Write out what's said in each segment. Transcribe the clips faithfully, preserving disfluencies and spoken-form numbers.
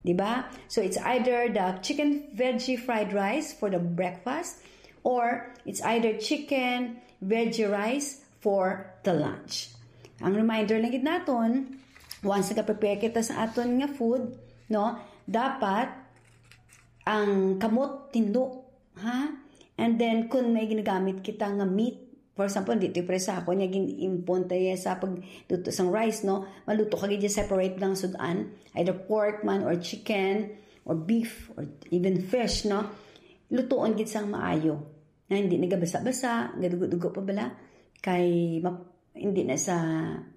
Diba? So it's either the chicken veggie fried rice for the breakfast or it's either chicken veggie rice for the lunch. Ang reminder lang gid naton, once nag-prepare kita sa aton nga food, no, dapat ang kamot tindog, ha? And then, kung may ginagamit kita nga meat, for example, dito yung sa ako niya gin-impon tayo sa pagluto sang rice, no? Maluto ka gid separate lang sudan, either pork man or chicken or beef or even fish, no? Lutuon gid sang maayo. Na hindi nagabasa-basa, gadugo-dugo pa bala, kay ma-, hindi na sa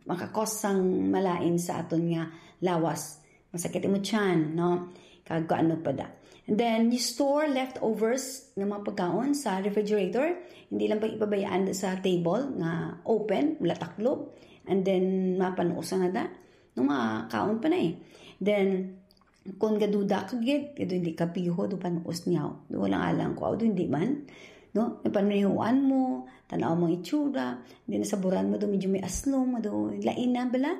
makakos sang malain sa aton nga lawas. Masakit imo tiyan, no? Kag ano pa da. And then, you store leftovers ng mga pagkaon sa refrigerator. Hindi lang pag ipabayaan sa table nga open, wala taklob. And then, mapanuusan na da. No, makaon pa na eh. Then, kung gaduda ka gid, kay hindi ka piho, do panuos niya. Do walang alang ko, do hindi man. No? Napanuyuan mo, tanaw mo ang itsura, hindi na saburan mo, do medyo may aslom, do lain na bala.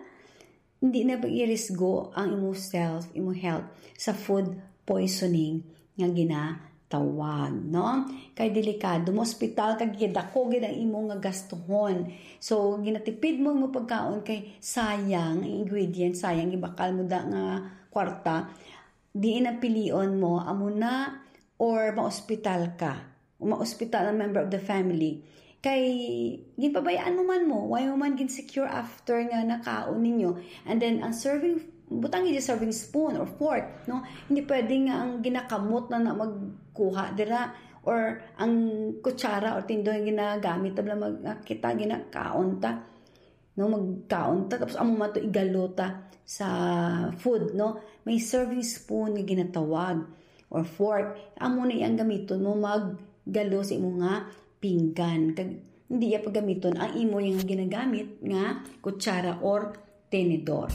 Hindi na pag-irisgo ang imo self, imo health sa food poisoning nga ginatawag, no? Kay delikado, mo ospital ka gid, dako gid ang imo nga gastuhon. So, ginatipid mo mo pagkaon kay sayang ang ingredients, sayang gibakal mo da nga kwarta. Diin ang pilion mo, amo na or maospital ka? O maospital ang member of the family? Kay ginpabayaan mo man mo, why mo man gin-secure after nga nakaon ninyo? And then, ang serving, butang yung serving spoon or fork, no? Hindi pwede nga ang ginakamot na na magkuha dira or ang kutsara or tindog yung ginagamit, tabla mag, kita, ginakaon ta. No, magkaon ta, tapos amo man to igalo ta sa food, no? May serving spoon nga ginatawag or fork. Amo na iyang gamiton mo maggalo sa imo nga pinggan. Kag hindi iya paggamiton ang imo yung ginagamit nga kutsara or tenedor.